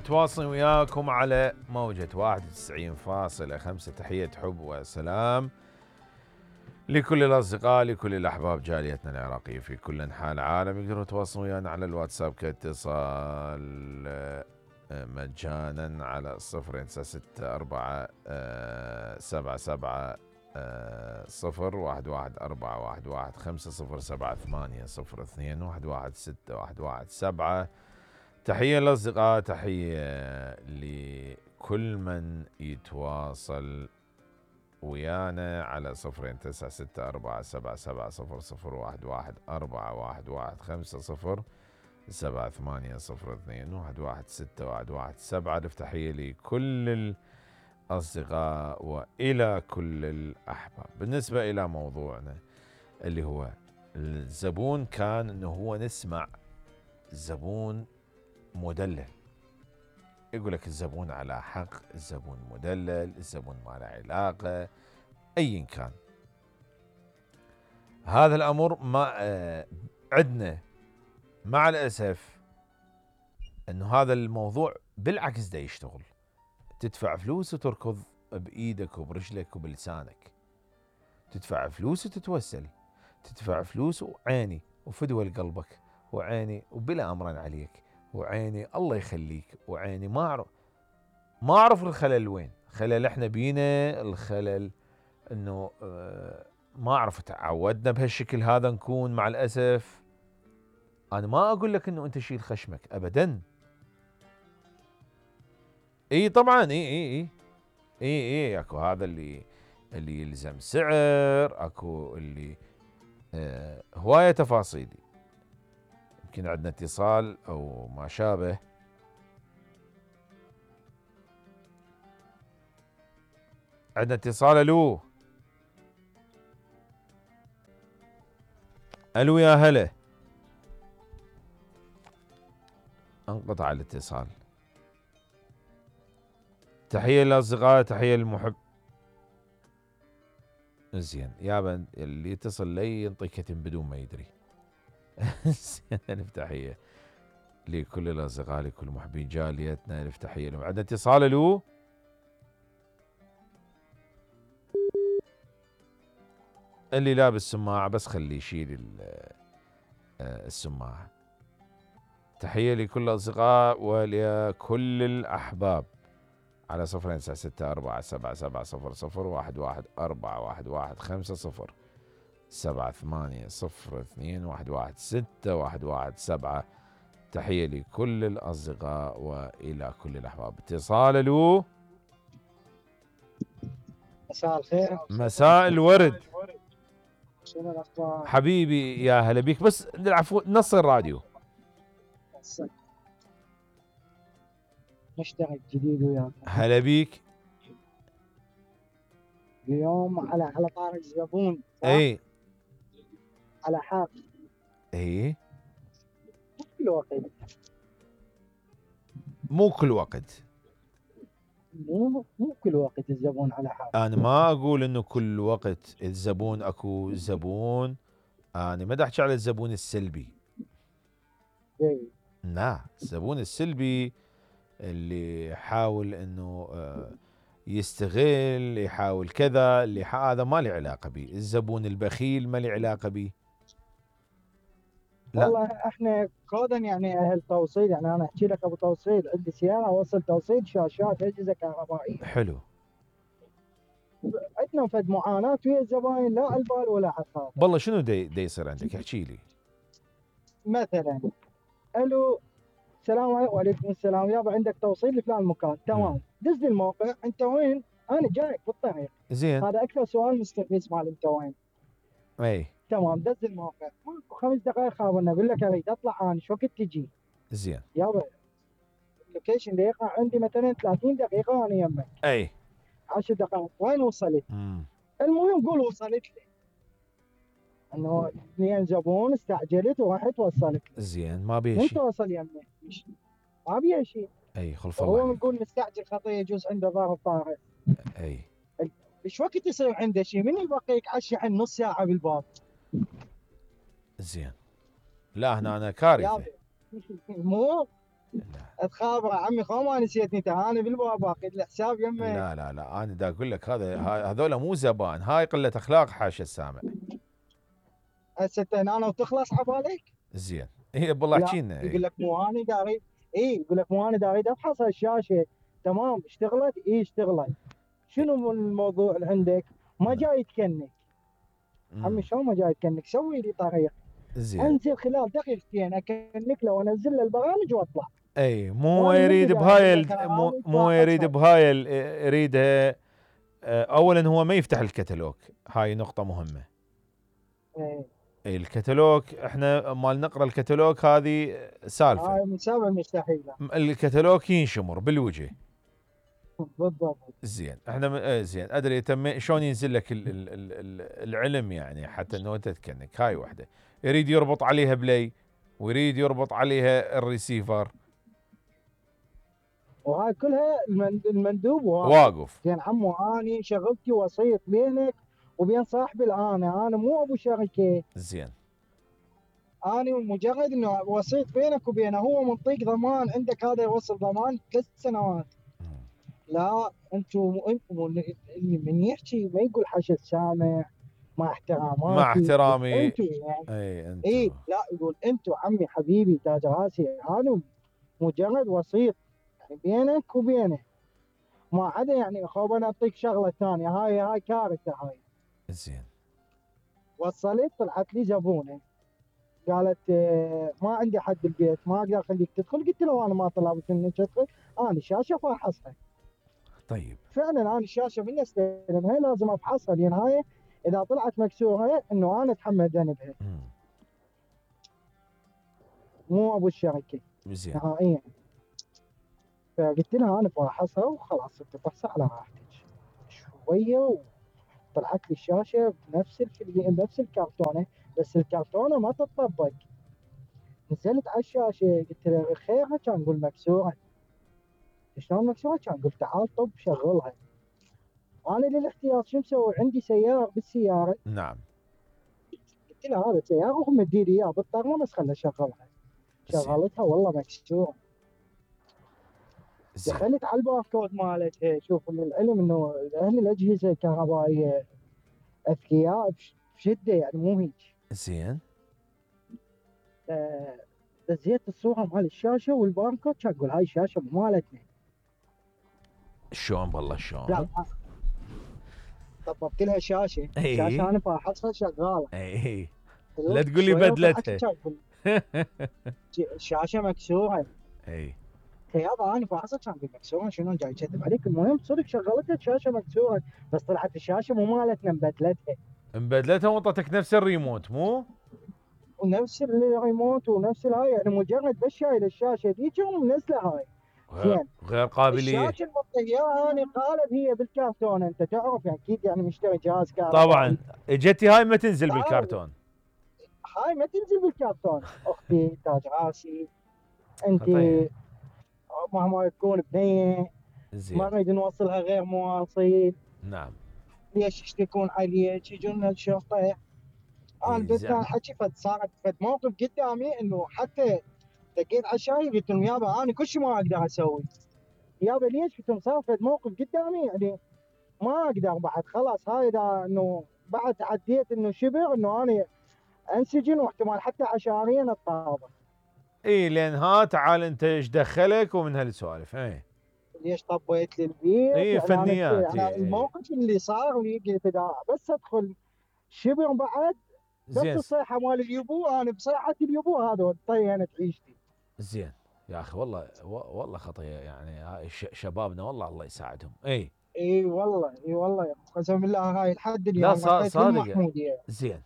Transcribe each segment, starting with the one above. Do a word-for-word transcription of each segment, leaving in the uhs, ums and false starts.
متواصل وياكم على موجة واحد وتسعين فاصلة خمسة. تحية حب وسلام لكل الأصدقاء، لكل الأحباب، جاليتنا العراقية في كل أنحاء العالم. يقدروا يتواصلوا ويانا على الواتساب كاتصال مجانا على صفر تسعة ستة أربعة سبعة سبعة صفر واحد واحد أربعة واحد واحد خمسة صفر سبعة ثمانية صفر اثنين واحد واحد ستة واحد واحد سبعة. تحية للأصدقاء، تحية لكل من يتواصل ويانا على صفر تسعة ستة أربعة سبعة سبعة صفر صفر واحد واحد أربعة واحد واحد خمسة صفر سبعة ثمانية صفر اثنين واحد واحد ستة واحد واحد سبعة. تحية لكل الأصدقاء وإلى كل الأحباب. بالنسبة إلى موضوعنا اللي هو الزبون، كان إنه هو نسمع زبون مدلل، يقول لك الزبون على حق، الزبون مدلل، الزبون ما له علاقة، أيا كان. هذا الأمر ما آه عندنا مع الأسف أنه هذا الموضوع بالعكس دا يشتغل. تدفع فلوس وتركض بإيدك وبرجلك وبلسانك، تدفع فلوس وتتوسل، تدفع فلوس وعيني وفدوى لقلبك وعيني وبلا أمرا عليك وعيني الله يخليك وعيني. ما أعرف ما أعرف الخلل وين. خلل إحنا بينا الخلل إنه آه ما أعرف تعودنا بهالشكل هذا نكون مع الأسف. أنا ما أقول لك إنه أنت شيل خشمك أبدا. إي طبعا إي إي إي إي إي أكو هذا اللي اللي يلزم سعر، أكو اللي آه هواية تفاصيل. يمكن عندنا اتصال أو ما شابه. عندنا اتصال. ألو ألو يا هلا. انقطع الاتصال. تحية للأصدقاء، تحية للمحب. زين يابا اللي يتصل لي ينطي كتم بدون ما يدري. زين ألف تحية لكل الأصدقاء، لكل محبين جاليتنا، ألف تحية لهم. عندنا اتصال. ألو اللي لابس سماعة بس خليه يشيل السماعة. تحية لكل الأصدقاء ولكل الأحباب على صفر تسعة ستة أربعة سبعة سبعة صفر صفر واحد واحد أربعة واحد واحد خمسة صفر سبعة ثمانية صفر اثنين واحد واحد ستة واحد واحد سبعة. تحية لكل الأصدقاء وإلى كل الأحباب. اتصال. ألو مساء الخير. مساء الورد. شنو الأخبار حبيبي يا هلا بيك. بس العفو نص الراديو. نشتغل جديد وياك. هلا بيك. اليوم على على طارق الزبون. اي على حق. اي كل وقت. مو كل وقت. مو مو كل وقت الزبون على حق. انا ما اقول انه كل وقت الزبون. اكو زبون، انا ما احكي على الزبون السلبي. اي لا، الزبون السلبي اللي يحاول انه يستغل، يحاول كذا، اللي هذا ما له علاقه به. الزبون البخيل ما له علاقه به. لا والله احنا كودا يعني اهل توصيل، يعني انا احكي لك ابو توصيل، عندي سياره اوصل توصيل شاشات اجهزه كهربائيه. حلو. عندنا فد معاناه ويا الزباين، لا على البال ولا على الخاطر. والله شنو دي, دي يصير عندك؟ احكي لي. مثلا الو السلام عليكم. وعليكم السلام. يابا عندك توصيل لفلان مكان. تمام. دز لي الموقع. انت وين؟ انا جايك بالطريق. زين. هذا اكثر سؤال مستفز مال انت وين. اي تمام. دز الموقع. خمس دقائق خابرنا، اقول لك اريد اطلع انا، شو وقت تجي؟ زين. يابا اللوكيشن اللي يقع عندي مثلا ثلاثين دقيقه وانا يمك. اي عشر دقائق. وين وصلت؟ مم. المهم قول وصلت لي. انه اثنين زبون استعجلت وراحت وصلت لي. زين ما بيه انت شيء. وصل يمك ما بيه شيء. اي خلف الله. هو نقول مستعجل خطيه يجوز عنده ظرف طارئ. اي ايش وقت يصير عنده شيء؟ من يبقيك على الشحن نص ساعه بالباب؟ زين. لا هنا انا كارثه. مو لا تخابره عمي خو ما نسيتني ترى انا بالباب باقي الحساب يمه. لا لا, لا. انا دا اقول لك هذا هذول مو زبائن، هاي قله اخلاق حاشا السامع. هسه انت هنا وتخلص عبالك. زين اي والله لا احكينا. يقول اي لك مو انا داري. اي يقول لك مو انا داري افحص الشاشه. تمام اشتغلت اي اشتغلت. شنو الموضوع اللي عندك؟ ما نعم. جاي تكنك. عمي امم شلون ما جاي تكنك؟ سوي لي طريق. زين. انزل خلال دقيقتين اكنك له وانزل له البرامج واطلع. اي مو وانا من يريد البدايه اقول بهاي له ال- ترى مو, انا مو يريد فاحصها. بهاي ال- يريدها. آه، اولا هو ما يفتح الكتالوج، هاي نقطه مهمه. إيه. اي الكتالوج احنا مال نقرا الكتالوج هذه سالفه. هاي من سبب المستحيله. م- الكتالوج ينشمر بالوجه. بالضبط. زين احنا م- آه، زين ادري تم شلون ينزل لك ال ال ال ال العلم يعني حتى انه انت تكنك. هاي وحده يريد يربط عليها بلاي، ويريد يربط عليها الريسيفر وهاي كلها المن- المندوب واقف. واقف. زين عمو اني شغلتي وسيط بينك وبين صاحبي الانا، انا مو ابو شركه. زين انا مجرد انه وسيط بينك وبينه، هو منطيك ضمان عندك هذا يوصل ضمان ثلاث سنوات. مم. لا انتم انتم اللي من يحكي ما يقول حشد سامع مع مع احتراماتي. احترامي. انتم يعني اي انت. ايه لا يقول انتم عمي حبيبي تاج راسي، انا مجرد وسيط يعني بينك وبينه. ما عدا يعني خوب انا اعطيك شغله ثانيه، هاي هاي كارثه هاي. زين وصلت طلعت لي زبونه قالت آه، ما عندي حد بالبيت ما اقدر اخليك تدخل. قلت له انا ما طلبت منك تدخل، انا الشاشه فاحصها. طيب. فعلا انا الشاشه من استلمها لازم افحصها، لان هاي اذا طلعت مكسوره انه انا اتحمل ذنبها مم. مو ابو الشركه زين نهائيا. فقلت لها انا فاحصها وخلاص انت فحصها على راحتك. شويه وطلعت لي الشاشه بنفس الكلي... نفس الكرتونه، بس الكرتونه ما تطبق. نزلت على الشاشه قلت له خيرها، كان يقول مكسوره. شلون مكسوره؟ كان قلت تعال طب شغلها. انا للاحتياط شو مسوي؟ عندي سيار بالسياره. نعم. قلت له هذا سياره وهم مدي لي اياه بالطرمه بس خلها اشغلها. زين شغلتها والله مكسوره. زين دخلت على الباركود مالتها. شوف للعلم انه اهل الاجهزه الكهربائيه اذكياء بش- بشده يعني مو هيك. زين آه، دزيت الصوره مال الشاشه والباركود، كان اقول هاي الشاشه مو مالتنا. شلون بالله لا شلون؟ طببت لها شاشه. اي شاشه انا فاحصها شغاله. اي لا تقول لي شوية وطلعت بدلتها. لي كان يقول الشاشه مكسوره. اي يابا انا فاحصها كان يقول مكسوره شنو جاي يكذب عليك؟ المهم صدق شغلتها الشاشه مكسوره، بس طلعت الشاشه مو مالتنا مبدلتها. مبدلتها وانطتك نفس الريموت مو؟ ونفس الريموت ونفس الهاي، يعني مجرد بس شايل الشاشه ذيك ومنزله هاي. غير, زين غير قابليه. الشاشه المطيه انا قالب هي بالكرتون، انت تعرف يعني اكيد يعني مشتري جهاز طبعا كهربائي. اجتي هاي ما تنزل آه، بالكرتون. هاي ما تنزل بالكرتون. اختي تاج راسي انت خطيه. مهما تكون بنيه ما زين نريد نوصلها غير مواصيل. نعم. ليش يشتكون عليك؟ يجون الشرطه. انا اي بديت زعم. حكي فد صارت فد موقف قدامي انه حتى دقيت على الشاي قلت لهم يابا انا كل شيء ما اقدر اسوي. يابا ليش؟ قلت لهم صار فد موقف قدامي يعني ما اقدر بعد خلاص. هاي اذا انه بعد عديت انه شبر انه انا انسجن واحتمال حتى عشانيا اتطابق. اي لان ها تعال انت ايش دخلك ومن هالسوالف. اي ليش طبيت لي البيت؟ اي يعني انا فنيات. يعني اي اي الموقف اللي صار لي قلت اذا بس ادخل شبر بعد بس زين الصيحه مال اليبو، انا بصيحه اليبو هذا طينت عيشتي. زين يا اخي والله و- والله خطيه يعني. هاي ش- شبابنا والله الله يساعدهم. اي اي والله اي والله يا أخو، قسم بالله هاي لحد لا اليوم صا- رحت صادق. للمحموديه. زين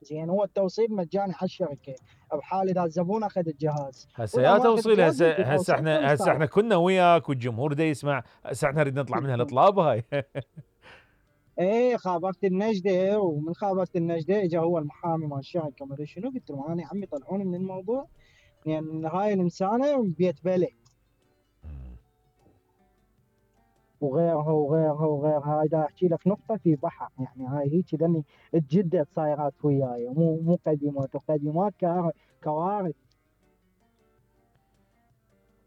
زين هو التوصيل مجاني على الشركه بحال اذا الزبون اخذ الجهاز. هسه واذا يا ما اخذ توصيل. الجهاز هسه يدي هسه توصيل احنا هسه احنا خمسة عشر. كنا وياك والجمهور دا يسمع. هسه احنا نريد نطلع من هالاطلاب هاي. ايه خابرت النجده، ومن خابرت النجده اجى هو المحامي مال الشركه ما ادري شنو. قلت له انا يا عمي طلعوني من الموضوع لان يعني هاي الانسانه بيت بلد وغيرها وغيرها وغيرها. هاي دا احكي لك نقطه في بحر يعني. هاي هيك لاني تجدد صايرات وياي مو مو قديمات وقديمات كار- كوارث.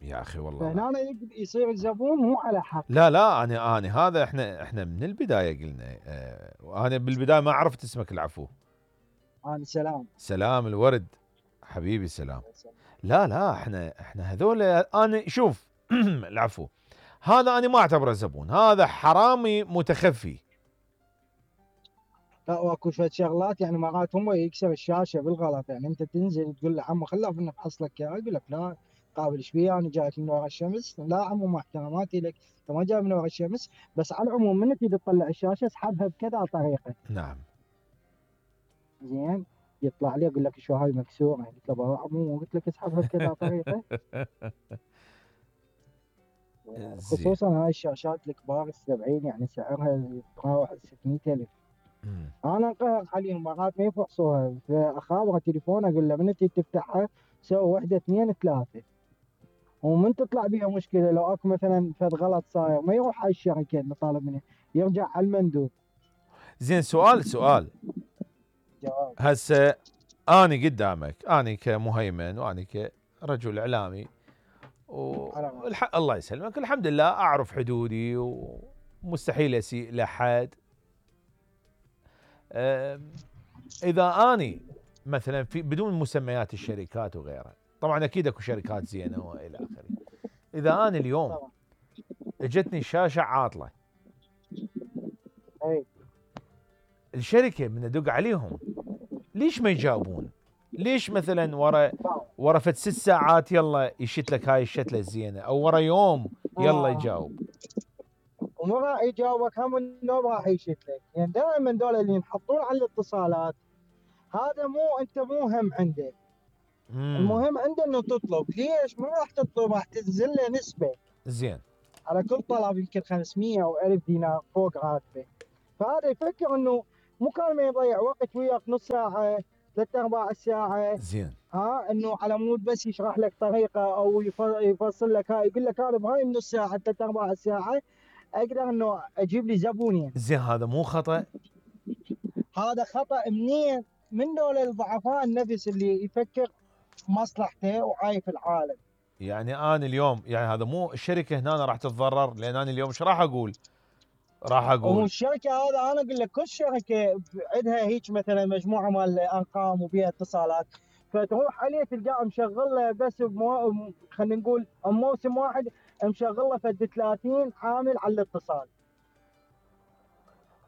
يا اخي والله لا. فهنا يق- يصير الزبون مو على حق. لا لا انا انا هذا احنا احنا من البدايه قلنا. اه وانا بالبدايه ما عرفت اسمك العفو. انا سلام. سلام الورد حبيبي سلام. لا لا احنا احنا هذول انا شوف العفو، هذا انا ما اعتبره زبون، هذا حرامي متخفي. لا واكو شوية شغلات يعني مرات هم يكسر الشاشه بالغلط، يعني انت تنزل تقول له عمو خلاف نفحص لك اياها، يقول لك لا قابل ايش بيها انا جايك من ورا الشمس. لا عمو مع احتراماتي لك انت ما جاي من ورا الشمس. بس على العموم من تريد تطلع الشاشه اسحبها بكذا طريقه. نعم. زين. يطلع لي يقول لك شو هاي مكسوره، قلت له بابا عمو قلت لك اسحبها بكذا طريقه. زين. خصوصا هاي الشاشات الكبار السبعين يعني سعرها يتراوح ستمية ألف. مم. انا انقهر عليهم مرات ما يفحصوها، فاخابره تليفون اقول له من تجي تفتحها سوي واحده اثنين ثلاثه، ومن تطلع بيها مشكله لو اكو مثلا فد غلط صاير ما يروح على الشركه اللي طالب منه، يرجع على المندوب. زين سؤال سؤال جواب. هسه اني قدامك، اني كمهيمن واني كرجل اعلامي والح... الله يسلمك الحمد لله اعرف حدودي ومستحيل اسيء لاحد. أم، اذا اني مثلا في بدون مسميات الشركات وغيرها، طبعا اكيد اكو شركات زينه والى اخره، اذا انا اليوم طبعا. اجتني شاشه عاطله، اي الشركه من ادق عليهم ليش ما يجاوبون؟ ليش مثلا ورا ورا فد ست ساعات يلا يشت لك هاي الشتله الزينه، او ورا يوم يلا آه. يجاوب؟ ومو راح يجاوبك هم النوم راح يشت لك، يعني دائما دول اللي ينحطون على الاتصالات هذا مو انت مو هم عنده. مم. المهم عنده انه تطلب، ليش؟ ما راح تطلب، راح تنزل له نسبه زين. على كل طلب يمكن خمسمية او ألف دينار فوق راتبه. فهذا يفكر انه مكالمه يضيع وقت وياك نص ساعه ثلاث ارباع ساعه، زين. ها انه على مود بس يشرح لك طريقه او يف- يفصل لك هاي، يقول لك انا بهاي النص ساعه ثلاث ارباع ساعه اقدر انه اجيب لي زبونين. زين هذا مو خطأ؟ هذا خطا منين؟ من دول الضعفاء النفس اللي يفكر في مصلحته وعايف العالم. يعني انا اليوم يعني هذا مو الشركه هنا راح تتضرر، لان انا اليوم ايش راح اقول؟ راح اقول والشركه هذا انا اقول لك كل شركه عندها هيك مثلا مجموعه مال ارقام وبيها اتصالات، فتروح عليه تلقاه مشغل له بس بمو... خلينا نقول موسم واحد مشغل له فد ثلاثين عامل على الاتصال.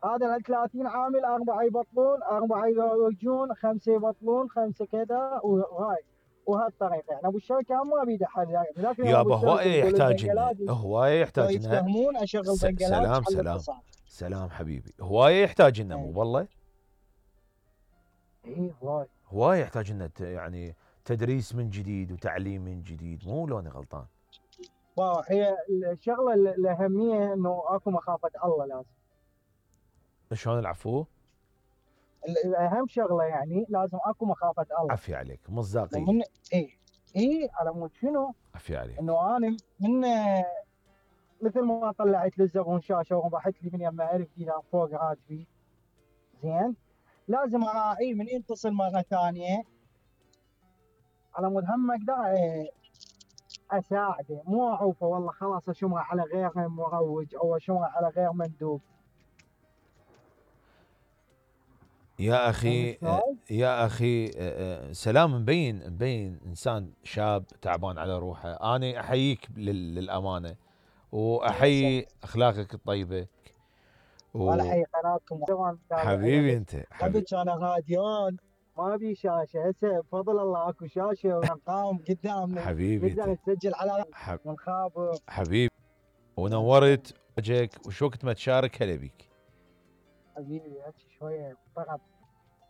هذا ال ثلاثين عامل اربعه يبطلون اربعه يجون خمسه يبطلون خمسه كذا وهاي وهالطريقه. يعني ابو الشركه ما بيده حل يعني، لكن ابو يابا هوايه الشركه يقول يحتاج لنا، البنجلادي هوايه يحتاج لنا. يتفهمون اشغل س- بنجلادي سلام على سلام الاتصال. سلام حبيبي، هوايه يحتاج لنا مو اي والله؟ اي هواي. هوايه يحتاج لنا ت- يعني تدريس من جديد وتعليم من جديد، مو لو انا غلطان؟ واو، هي الشغله ال- الاهميه انه اكو مخافه الله لازم. شلون العفو؟ ال- الاهم شغله يعني لازم اكو مخافه الله. عفي عليك، مصداقيه. ومن اي اي على مود شنو؟ عفي عليك. انه انا من مثل ما طلعت للزبون شاشه وربحت لي من يمها ألف دينار فوق راتبي، زين لازم اراعيه من يتصل مره ثانيه على مود هم اقدر اساعده، مو اعوفه والله خلاص اشمره على غير مروج او اشمره على غير مندوب. يا اخي فهمت شلون؟ يا اخي سلام مبين مبين انسان شاب تعبان على روحه، انا احييك لل- للامانه واحيي اخلاقك الطيبه ولا و... حي قناتكم حبيبي انت قبل حبيبي. كان راديون ما بي شاشه، هسه بفضل الله اكو شاشه وارقام قدامنا حبيبي نقدر انت نسجل على حب... ونخابر. حبيبي ونورت وجهك، وش وقت ما تشارك هلا بيك. حبيبي هسه شويه طرب.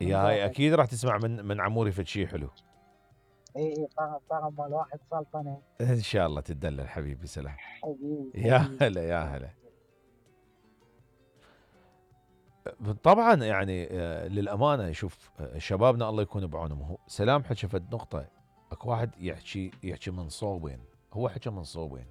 يا هاي اكيد راح تسمع من من عموري فد شي حلو. اي اي طرب طرب مال واحد سلطنه. ان شاء الله تدلل حبيبي. سلام. حبيبي يا حبيبي. هلا يا هلا. طبعا يعني آه، للامانه شوف آه، شبابنا الله يكون بعونهم. هو سلام حكى فد نقطه، اكو واحد يحكي يحكي من صوبين، هو حكى من صوبين.